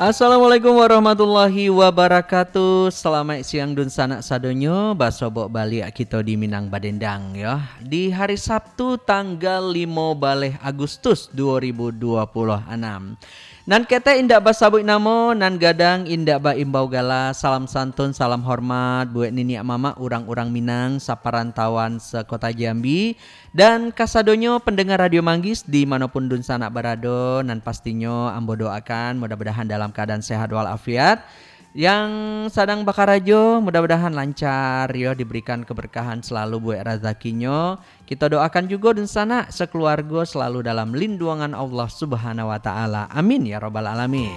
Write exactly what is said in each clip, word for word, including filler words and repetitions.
Assalamualaikum warahmatullahi wabarakatuh. Salamaik siang dunsanak sadonyo. Basobok baliak kito di Minang Badendang, yo. Di hari Sabtu tanggal limo baleh Agustus duo ribu duo puluah anam. Nan ketek indak basabuik namo, nan gadang indak baimbau gala. Salam santun, salam hormat buek niniak mamak urang-urang Minang saparantauan sakota Jambi. Dan kasadonyo pandanga Radio Manggis di manopun dunsanak barado, nan pastinyo ambo doakan mudah-mudahan dalam kaadaan sehat walafiat. Yang sadang bakarajo, mudah-mudahan lancar, yo, diberikan keberkahan selalu buek razakinyo. Kito doakan jugo dunsanak sakeluargo selalu dalam linduangan Allah Subhanahu wa Ta'ala. Amin, ya Rabbal Alamin.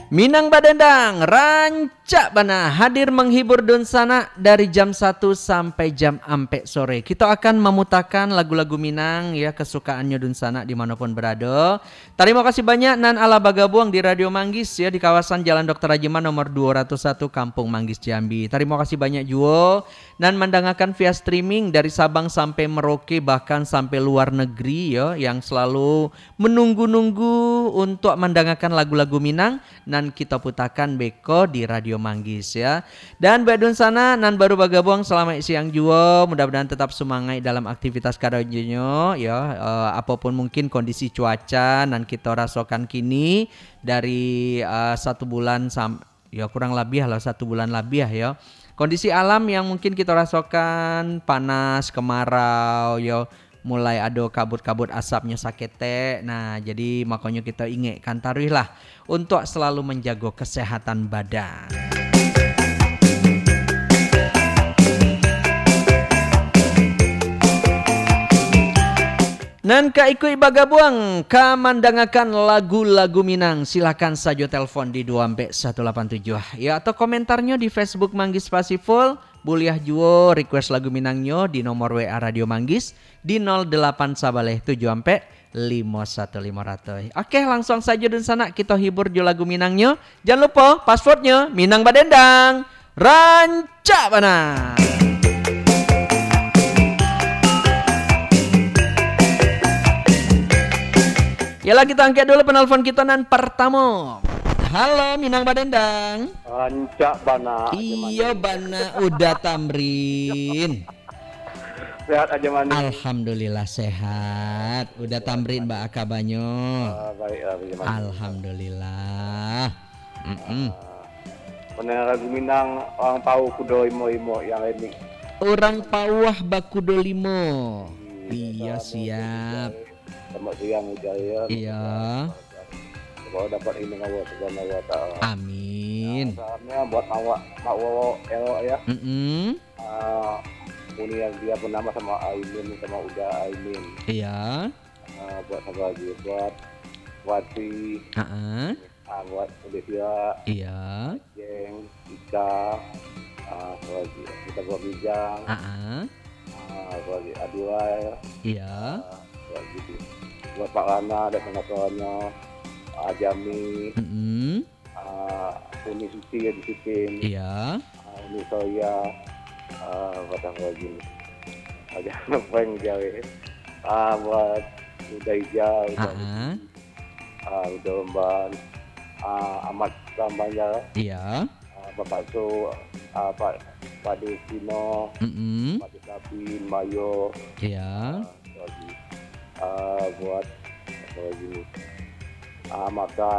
Minang Badendang, rancak bana hadir menghibur dunsanak dari jam satu sampai jam ampek sore. Kito akan mamutakan lagu-lagu Minang, ya, kesukaannyo dunsanak di manopun barado. Tarimo kasih banyak nan alah bagabuang di Radio Manggis, ya, di kawasan Jalan Doktor Rajiman nomor duo ratus satu, Kampung Manggis, Jambi. Tarimo kasih banyak juo nan mandangakan via streaming dari Sabang sampai Merauke, bahkan sampai luar negeri, ya, yang selalu menunggu-nunggu untuk mandangakan lagu-lagu Minang nan kito putakan beko di Radio Manggis, ya. Dan buek dunsanak nan baru bagabuang, salamaik siang juo. Mudah-mudahan tetap sumangaik dalam aktivitas karajonyo, yo. Eh, apopun mungkin kondisi cuaca nan kito rasokan kini dari, eh, satu bulan sam-, yo, kurang labiah lah satu bulan labiah, yo. Kondisi alam yang mungkin kito rasokan panas, kemarau, yo. Mulai ado kabut-kabut asapnyo saketek. Nah, jadi makonyo kito ingekkan taruih lah untuak selalu manjago kesehatan badan. Nan ka ikuik bagabuang ka mandangakan lagu-lagu Minang, silakan sajo telpon di duo ampek satu lapan tujuah, yo, atau komentarnyo di Facebook Manggis Pasiful. Buliah juo request lagu Minangnyo di nomor W A Radio Manggis di nol delapan sabaleh tujuh ampek limo satu limo ratus. Oke, langsung sajo dunsanak kito hibur jo lagu Minangnyo. Jan lupo, passwordnyo Minang Badendang. Rancak bana. Yalah, kito angkek dulu penelpon kito nan partamo. Halo, Minang Badendang. Rancak bana. Iyo bana, Uda Tamrin. Sehat Ajo Mani. Alhamdulillah sehat. Uda Tamrin, baa kabanyo? Ah, baiklah, Ajo Mani. Alhamdulillah. Mm-mm. Ah, pendengar lagu Minang, urang pauah kudo limo-limo yang remix. Urang pauah bakudo limo. Iya, siap. Selamat siang, Ujaya. Iya. Semoga dapat izin Allah Subhanahu wa Ta'ala. Amin. Salamnya buat Mak Wa-, Mak Wowo Elok, ya. Mm-mm. Ah, uni yang dia bernama sama Aimin, sama Uda Aimin. Iya. Ah, buat siapa lagi? Buat Wati. Heeh. Ah, buat Olivia. Iya. Jeng, Ika. Ah, siapa lagi? Kita buat Bijang. Heeh. Ah, siapa lagi? Aduai. Iya. Ah, siapa lagi tu? Buat Pak Lana dan kawan-kawannya. Ah, Jami. Mm-mm. Ah, Uni Suti ya di Sipin. Iya. Ah, Uni Soya. Ah, buat siapa lagi? Aja prank dia, eh. Ah, buat Uda Ija, Uda Ah, ah. Uda Umban. Ah, Ahmad Sambanjar. Iya. Ah, Bapak Su, ah, Pak, Pak Destino, Mm-mm. Pak Desabin, Mayo. Iya. Ah, lagi. Ah, buat apa lagi ni? Ah, Maka,